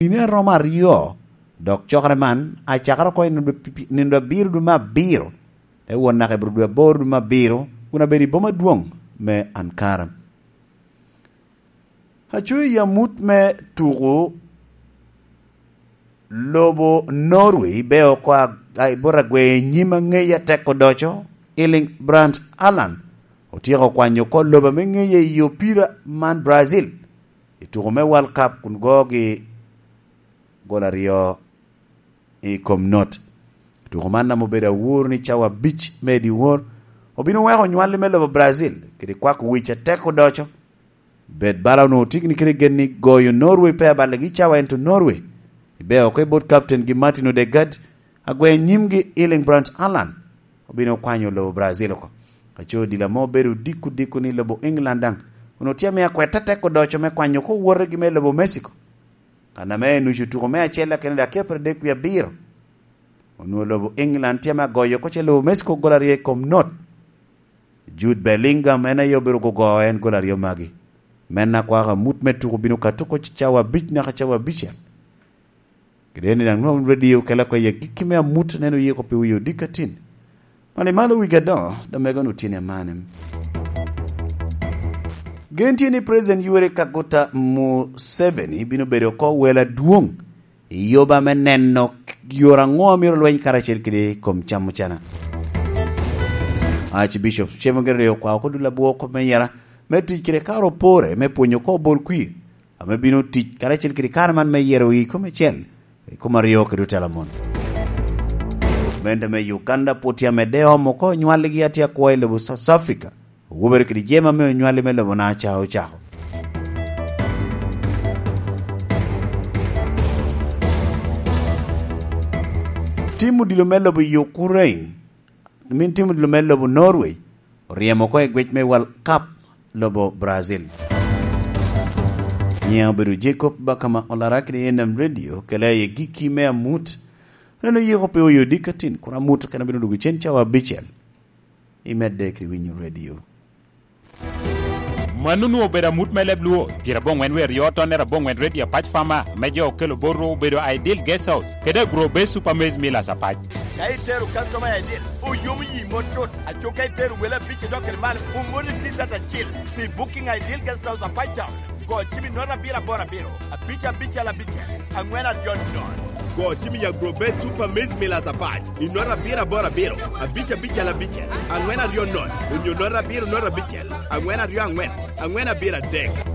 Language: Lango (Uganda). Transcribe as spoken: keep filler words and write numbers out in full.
Nino a romo aryo, dok cokere man acakere oko i nino abiro dwe me abiro, te wot naka i bro dwe aboro dwe me abiro, kun abedo i boma adwoŋ me Ankara. Aco i amut me tuko lobo Norway, be oko a, a, i bot agwer nyim aŋeya tek odoco, Erling Braut Haaland, otyeko kwanyo oko lobo ame ŋeye i opira man Brazil, i tuko me World Cup kun gogi gol aryo i kom not. Tuko man ame obedo awor ni cawa abic me dyewor, obino weko onywali me lobo Brazil kede kwako wic atek odoco. Bed bala onwoŋo tye gini kede gen ni goyo Norway pe abalegi cawa, ento Norway ibe oko i bot captain gi Martin Odegaard, agwer nyimgi Erling Braut Haaland obino kwanyo lobo Brazil oko. Aco odilo ame obedo odiko diko ni lobo England daŋ onwoŋo tye ame akwet atek odoco me kwanyo oko wotegi me lobo Mexico. Kan ame nucu tuko me acel akene dakika pyeradek wie abiro, onwoŋo lobo England tye ame agoyo oko ce lobo Mexico gol aryo i kom not. Jude Bellingham en aye obedo gogo en gol aryo magi. Men akwako amut me tuko bino ka tuko cawa abic naka cawa abicel. Kede en daŋ nwoŋo radio kela oko i agikki me amut, neno yiko pi wie odiko atin. Mani malo wigi adoŋo, domego nu tyen amane. Gen tye ni President Yoweri Kaguta Museveni bino bedo oko wel adwoŋ i yoba me neno yore aŋo a myero lweny karacel kede i kom camo cana. Archbishop Cemo Gerere okwao oko dul abwo kop me yera me tic kede kare opore me pwonyo oko bol kwir ame bino tic karacel kede kare man me yero i kom ecel, i kom aryo kede otela mon. Gamente me Uganda pwod tye amedde omo oko nywaligi atye akwo i lobo South Africa. Owobere kede jema me onywali me lobo na ca ocako. Tim odilo me lobo Ukraine, min tim odilo me lobo Norway, oryemo oko i gwec me World Cup lobo Brazil. Nyiŋa obedo Jacob Bakama Olara kede N M Radio, kela i gikki me amut. Neno yiko pe oyo dikatin, kun amut kena bino dugo cen cawa abicel. Imedde kede winyo radio. Mano onwoŋo obedo amut me leb Luo, pyeraboŋwen wie aryo tonnere aboŋwen Radio Apac Fama, ame jo okelo botwu obedo Ideal Guest House, kede Agro Base Super Maize Millers Apac. Ka itero customer Ideal, oyomo yi mot cut, aco ka itero wele abic idok kede malo, omoni T-shirt acil pi booking Ideal Guest House Apac Town. Go cim i note abiro aboro abiro, abic abicel abicel, aŋwen aryo nono. Go cim i Agrobet Super Maize Millers Apac i note abiro aboro abiro, abic abicel abicel, aŋwen aryo nono, onyo note abiro note abicel, aŋwen aryo aŋwen, aŋwen abiro adek.